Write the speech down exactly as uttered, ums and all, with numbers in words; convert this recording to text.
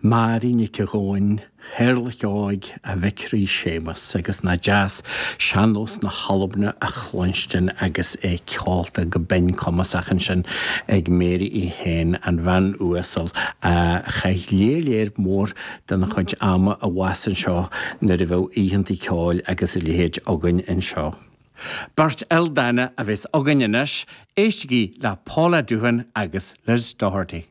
Mary Nic Gabhann, Théarlach Óig a mhic Rí Séamus agus nach deas sean-nós na hAlban a chluinstin agus é ceolta go binn cumasach ansin ag Mary í féin an bhean uasal a chaith léir léir mór den chuid ama abhus anseo nuair a bheadh oícheanta ceoil agus a leithéid againn anseo. Beirt ildánach a bheas againn anois, éistigí le Paula Doohan agus Liz Doherty.